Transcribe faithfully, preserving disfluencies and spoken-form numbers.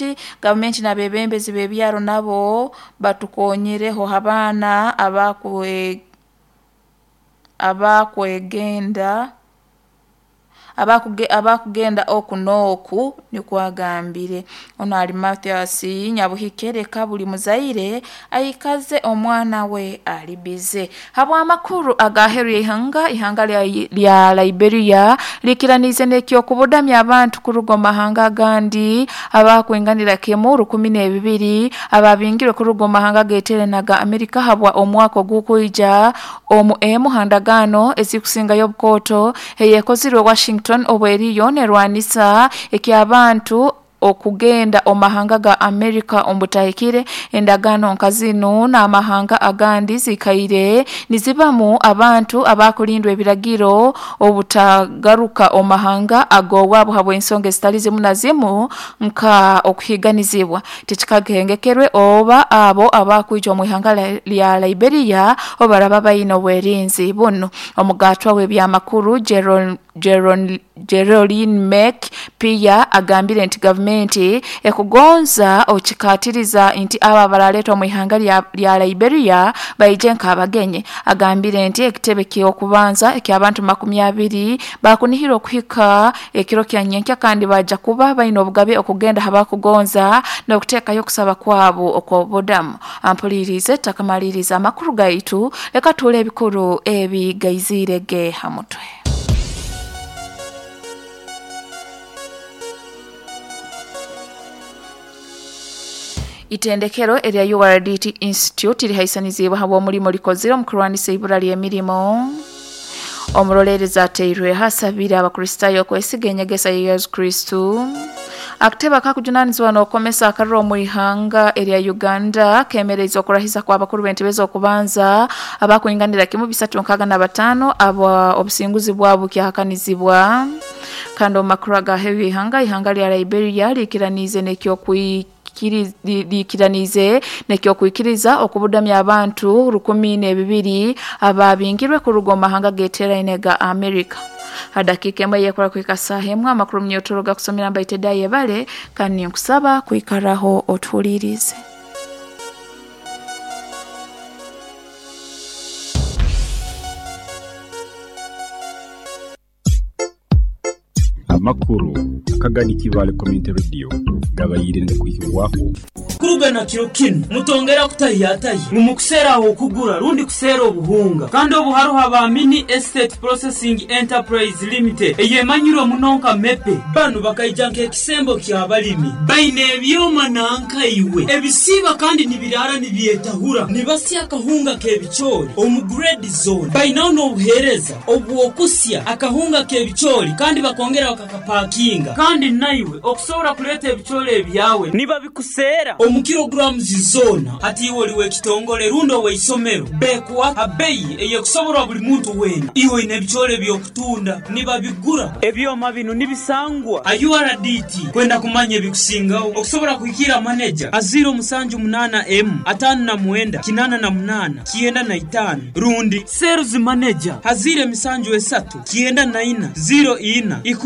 Gavumenti gavumenti n'abebembezi b'ebyaro nabo batukonyereho abaana abakwe abakwegenda abakuge abakugenda oku n'oku nikwo agambire. Ono ali Mathias Nyabuhikere buli muzaire aikaze omwana we ali bize. Habw'amakuru agaheru y'ihanga, ihanga lya, lya Liberia likiranize n'ekyokubudamya abantu kuruga omu mahanga agandi abakwinganira kimu rukumi n'ebibiri ababingirwe kuruga omu mahanga ageteere naga Amerika habwa omwaka ogukwija omu emu handagaano ezikusingayo obukooto eyekozirwe Washington obweriyo nerwanisa eky'abantu okugenda omu mahanga ga Amerika omu butahikire. Endagaano nka zinu n'amahanga agandi zikaire nizibamu abantu abakulindwa ebiragiro obutagaruka omu mahanga ag'owaabo habw'ensonga ezitali zimu na zimu nka okuhiiganizibwa. Tikikagengekerwe oba abo abakwija omu ihanga lya Liberia obaraba baine obwerinzi bunu. Omugatwa w'ebyamakuru Jeron Jeron Geraldine Mek Pia agambire nti gavumenti ekugonza okikatiriza nti abo abaraleetwa omu ihanga lya, lya Liberia baije nk'abagenyi. Agambire nti ekitebe ky'okubanza eky'abantu makumi abiri bakunihirwa okuhika ekiro kya nyenkya kandi baja kuba baine obugabe okugenda habakugonza n'okuteekayo okusaba kwabo okw'obudamu. Ampulirize takamaliriza amakuru gaitu, leka tuule ebikuru ebigaizire ge ha mutwe. Itendekero erya U R D T Institute lihaisanizibwa habw'omulimo likozire omu kurwanisa ibura ly'emirimo. Omuroleerezi ateirwe hasabire Abakristaayo okwesiga enyegesa ya Yesu Kristo. Akatebe akakujunanizibwa n'okukomesa akariro omu ihanga erya Uganda kemereize okurahiza kw'abakuru b'entebe z'okubanza abakwinganira kimu bisatu nkaaga na bataano abo obusinguzi bwabo bukyahakanizibwa. Kandi omu makuru agaheru y'ihanga, ihanga lya Liberia likiraniize n'ekyokwi likiranize n'ekyokwikiriza okubudamya abantu rukumi n'ebibiri ababingirwe kuruga omu mahanga ageteeraine ga Amerika. Hadakiika emwe yekora kuhika saaha emwe amakuru munyotoro gakusomera mbaite dayebale kandi ninkusaba kwikaraho otuhulirize. Amakuru akagani Kibale Community Radio gabayire kuhibwaho kurugana kiro kinu mutongera kutahiyatahi mumukusera aho kugura rundi kusera obuhunga kandi obuharuha ba Mini Estate Processing Enterprise Limited eyemanyirwe munonka mepe banu bakaija nk'ekisembo ky'abalimi baine ebyoma nankaiwe ebisiba kandi nibirara nibyetahura nibasya akahunga k'ebicoori omu grade zone bainaho n'obuheereza obwokusya akahunga k'ebicoori kandi bakongera bakakapakinga kandi naiwe okusobola kuleeta ebicoori ebyawe nibabikusera omu kilograms zona. Hati iwe oliwe ekitongole rundo weisomero bekuwa abeyi eyekusoborwa buli muntu wena iwe ine ebicoori ebyokutunda nibabigura ebyoma bino nibisangwa a U R D T kwenda kumanya ebikusingaho okusobola kuhikira manager a zero musanju munana m atano na mwenda kinana na munana kienda na itano rundi sales manager hazire misanju esatu kienda na ina zero ina ikumi.